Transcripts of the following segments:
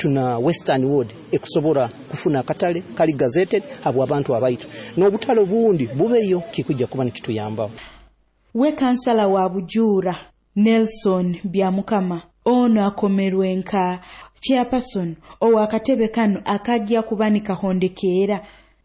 Baitu na Western Ward ekusobora kufuna akatale kali gazetted habw'abantu abaitu, n'obutale obundi bubeyo, kikujja kuba nikituyambaho. We kansala wa Bujuura, Nelson Byamukama, ono akomerwe nka chairperson ow'akatebe kanu akajja kuba nikahondekeera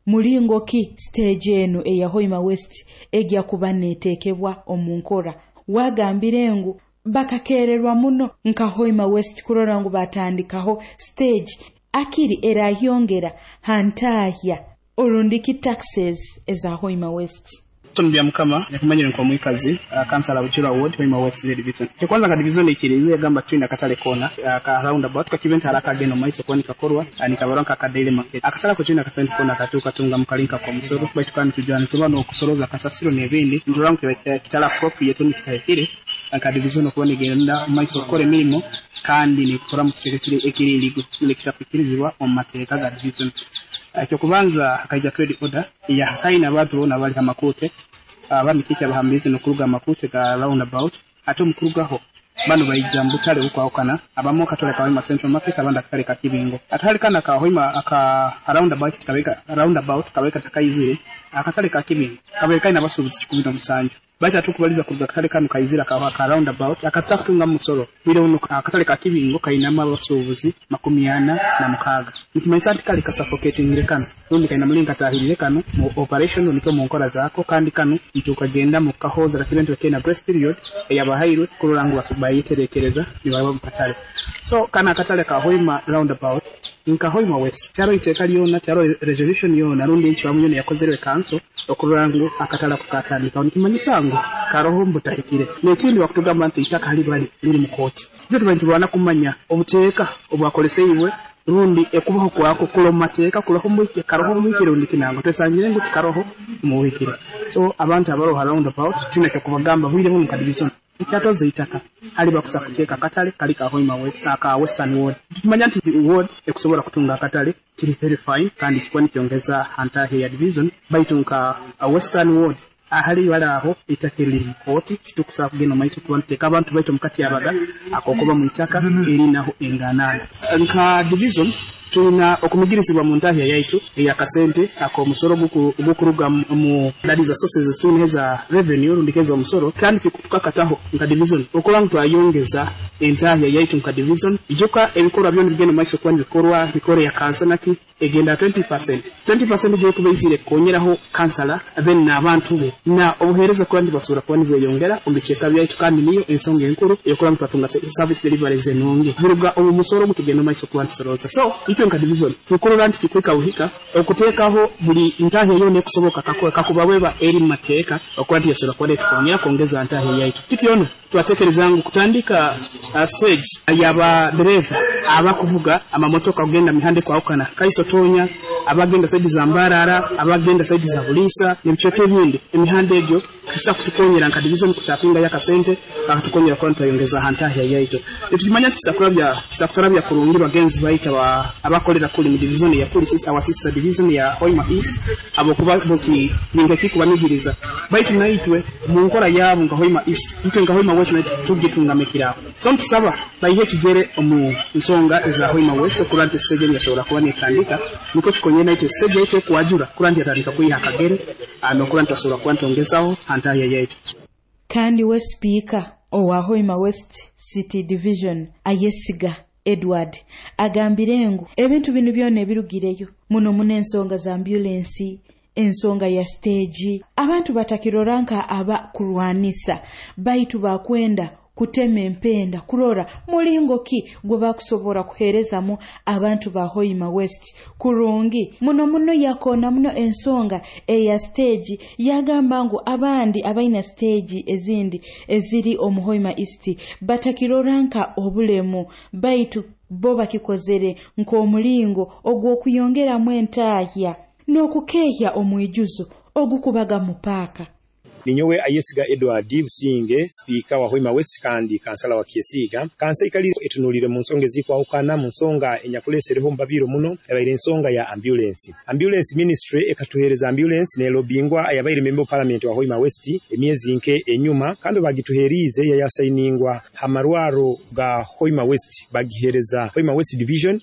mulingo ki stage eno eya Hoima West ejja kuba neeteekebwa omu nkora. Wagambire ngu bakakererwa muno nka Hoima West kurora ngu batandikaho stage akiri erahyongera hantahya orundiki taxes eza Hoima West. Nelson Byamukama, yakumanyire nk'omwikazi, kansala Bujura Ward, Hoima West Division. Ekyokubanza, nka division ikirize yagamba twina akatale kona ka roundabout kakibe nti akagenda omu maiso kuba nikakorwa, nikabarwa nka daily market. Akatale ako twina akasente kona katuuka tunga mu kalinka k'omusoro, baitu kandi tujwanizibwa n'okusoroza kasasiro n'ebindi. Nturora ngu kitali appropriate, nikitahikire nka division okuba nigenda omu maiso okukora emirimo kandi nikukora mu kicweka ekiri ekiri illegal, nikitakwikirizibwa omu mateeka ga division. Ekyokubanza, hakaija trade order eyahakaine abantu boona abali ha makuute, abandi kiki abahambirize n'okuruga amakute ga roundabout. Ate omukurugaho bano baija mu butale obukwahukana, abamu akatale ka Hoima Central Market, abandi akatale ka Kibingo. Akatale kano aka Hoima aka roundabout kabeka roundabout kabeka takaizire. Akatale ka Kibingo kabaire kaina abasuubuzi 107, baitu atukubaliza kuruga akatale kano kaizira ka roundabout akatakutunga musoro, bwire buno akatale ka Kibingo kainamu abasuubuzi 46. Nikimanyisa nti kali kasuffocatingire kano, rundi kaina mulingo katahirire kano mu operation nikyo mu nkora zaako. Kandi kano ntukagenda mu kahoza kakibe nti kaina grace period eyabahairwe kurora ngu bayeterekereza nibaba mu katale. So kana akatale ka Hoima roundabout, nka Hoima West tyaro iteeka lyona, tyaro resolution yona rundi encwamu yona yakozerwe kanso okurora ngu akatale ako katandikaho. Nikimanyisa ngu karoho mbutahikire. N'ekindi, bakutugamba nti itaka hali bali liri mu kooti. Ito tuba nitulwana kumanya obuteeka obwakoleseibwe rundi ekubaho kwako kula mu mateeka, kuloho muhikire, karoho muhikire rundi kinango twesangire ngu tikaroho muhikire. So abantu abaroho roundabout, tulina kyokubagamba bwire buno, nka division ekyatoza itaka hali bakusa kuteeka akatale kali ka Hoima West, aka Western Ward. Tukimanya nti ward ekusobola kutunga akatale kiri very fine, kandi kikuba nikyongeza hantahe ya division, baitu nka Western Ward ahali bali aho itaka eriri mu kooti, kitukusaba kugenda omu maiso kuba nituteeka abantu baitu mukati abaga akokuba mu itaka erinaho enganana. Nka division tulina okumigirizibwa mu ntahya yaitu eyakasente ak'omusoro ogukuruga mu that is sources tulina eza revenue rundi keza omusoro, kandi tukakataho nka division okuba ngu twayongeza entahya yaitu nka division. Ijuka ebikorwa byona bigenda maiso kuba nibikorwa mikoro ya kanso naki egenda 20%. 20% gyokuba izire kukonyeraho kansala then n'abantu be na obuheereza kuba nibasobora kuba nibweyongera omu bicweka byaitu, kandi niyo ensonga enkuru eyokuba ngu twatunga service deliveries enungi ziruga omu musoro ogutugenda maiso kuba nitusorooza. So itwe nka division tukurora nti kikwika buhika okuteekaho buli ntahya yona ekusoboka kakuba bweba eri mu mateeka okuba nti yasobora kuba netukonyera kwongeza ntahya yaitu. Kityono twatekereza ngu kutandika stage yaba dereva abakuvuga amamotoka kugenda mihanda ekwahukana, Kaiso, Tonya, abagenda side za Mbarara, abagenda side za Buliisa n'ebicweka ebindi, emihanda egyo tusa kutukonyera nka division kutapinga yakasente akatukonyera kuba ntwayongeza ha ntahya yaitu. Nitukimanya nti kisakutarabya kurungi bagenzi baitu abakolera kuli mu division ya kuli our sister division ya Hoima East, abokuba boki ninga kikubanigiriza, baitu naitwe mu nkora yabo nka Hoima East, itwe nka Hoima West naitwe tugitungamikiraho. So ntusaba baihe ekigere omu nsonga eza Hoima West okurora nti stage enu yasobora kuba netandika, nikwo tukonyere naitwe stage yaitu ekwajura kurora nti yatandika kwiha akagere nokurora nti twasobora kuba ntongezaho ha ntahya yaitu. Kandi we sipiika owa Hoima West City Division, Ayesiga Edward, agambire ngu ebintu binu byona ebirugireyo muno muno ensonga za ambulensi, ensonga ya stage, abantu batakirora nka aba kurwanisa, baitu bakwenda kutema empenda kurora mulingo ki gwe bakusobora kuheerezamu abantu ba Hoima West kurungi muno muno. Yakoona muno ensonga eya stage, yagamba ngu abandi abaina stage ezindi eziri omu Hoima East batakirora nka obulemu, baitu bo bakikozere nk'omulingo ogw'okuyongeramu entahya n'okukeehya omwijuzo ogukubaga mu paaka. Ninyowe Ayesiga Edward Businge, sipiika wa Hoima West kandi kansala wa Kyesiiga. Kansa ikali etunulire mu nsonga ezikwahukana. Mu nsonga enyakulesereho mubabiro muno ebaire ensonga ya ambulance. Ambulance ministry ekatuhereza ambulance nelobingwa ayabaire member of parliament wa Hoima West emyezi nke enyuma, kandi bagituherize yayasayiningwa ha marwaro ga Hoima West, bagihereza Hoima West Division.